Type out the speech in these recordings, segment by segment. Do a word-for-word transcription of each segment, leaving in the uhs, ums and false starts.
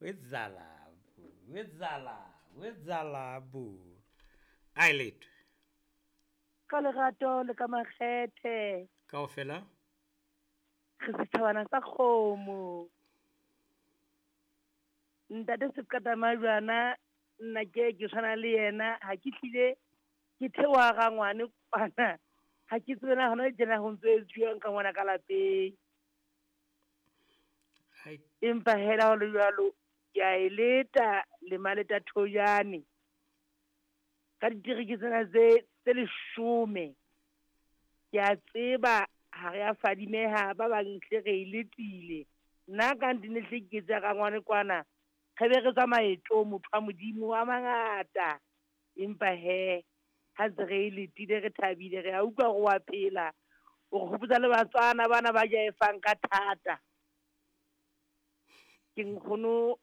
Wetsala, wetsala, wetsala bo. Ai letho. Ka lerato le ka makgethe. Kaofela? Re setjhabana sa kgomo. Ntate Seqatamajwana nna ke ke tshwana le yena ha ke hlile ke theoha ga ngwane kwana. Ha ke tsebe na hona tjena ho ntso etsuwang ka ngwana ka lapeng. Ai. Empa hela ho le jwalo ke a e leta le maleta thojane. Ka ditereke tsena tse tse leshome. Ke a tseba ha re a fadimeha ba bang hle re e letile. Nna ka ntine hle ke tsa ka ngwane kwana. Re be re tswa maetong motho wa Modimo a mangata. Empa he ha ntse re e letile re thabile re a utlwa hore wa phela. O re hopotsa le Batswana bana ba jaefang ka thata. Ke nkgono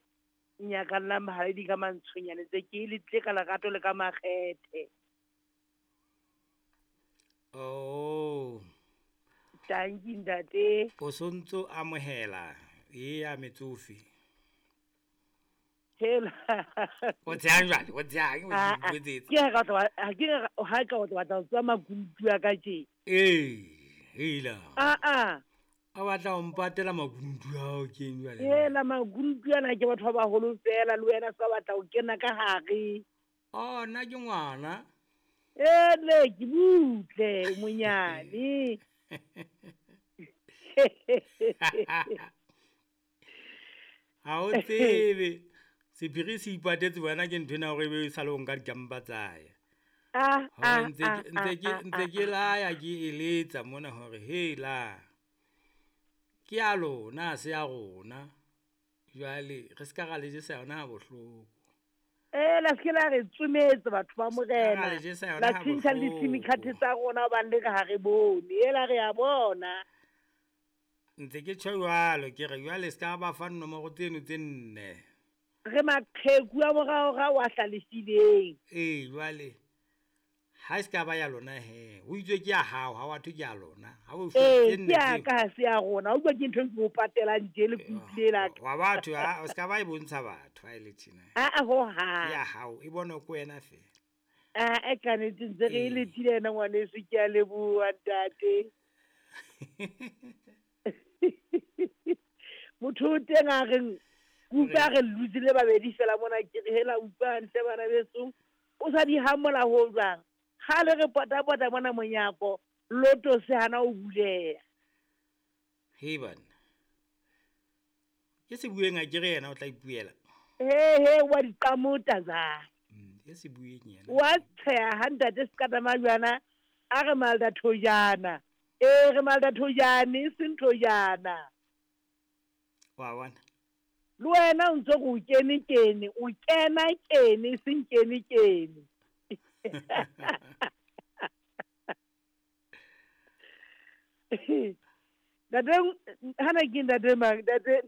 nyakallang mahaledi ka mantshonyane tse ke le tle ka lerato le ka makgethe. Oh. Tanki ntate. O sontso amohela e ya metsofe. Hela. O tsehang jwale, o tsehang, o Ah, ah. botsetse. Ke ha ka tla ha ke ha ka o batla ho tswa makunutu a ka tje. Ee, hela. Ah ah. A batla ho mpatela makunutu ao ke eng jwale? Hela makunutu ana ke batho ba baholo fela le wena sa batla ho kena ka hare. Oh, nna ke ngwana. Ele ke butle monyane. Ha o tsebe. Sephiri se ipatetse wena ke nthwena hore ebe e sale o nka dikampa tsa ya. Ah, Hore ah, ntse ah, ke, ntse ke, ah, ntse ah, ke ah, laya ke eletsa mona hore hela. Ke ya lona, ha se ya rona. Jwale re ska ra le jesa yona ha bohloko. Eh, la se la re tsometse batho ba Ska ra Morena. le jesa yona La ha tjhentjha le di-SIM card bohloko. tsa rona hobane le re ha re bone. Ela re a bona. Ntse ke tjho jwalo, ke re jwale ska ba fa nomoro tseno tse nne. Re maqheku a moraorao a hlalefileng. Ee, jwale ha e ska ba ya lona he. Ho itswe ke ya hao, ha wa thwe ke ya lona. Ha o fuwe Ee, tse nne ke ya tseo. ka ha se ya rona. O utlwa ke ntho e ke o patelang tje le kutlwile la ka. Wa batho, ha, o ska ba e bontsha batho ha e le tjena. Ah, ah, ho hang. Ke ya hao, e bonwe ke wena feela. Ah, e ka nnete ntse re e Ee. letile yena ngwaneso, ke a leboha ntate. Motho o teng a reng, ke utlwa a re lutse le babedi fela mona ke re hela utlwa hantle bana beso. O sa di hamola ho jwang? Kgale re pota-pota mona monyako, loto se hana ho buleha. Hei banna. Ke se bueng a ke re yena o tla ipuela. He, he, wa di qamota za. Mm, ke se bueng yena. Wa tsheha ha ntate Seqatamajwana a re malda thojana. Ee, re malda thojane, e seng thojana. Wa bona? Le wena o ntso re o kene kene, o kena kene, e seng kene kene. Ntate, hana ke ntate mang? Ntate,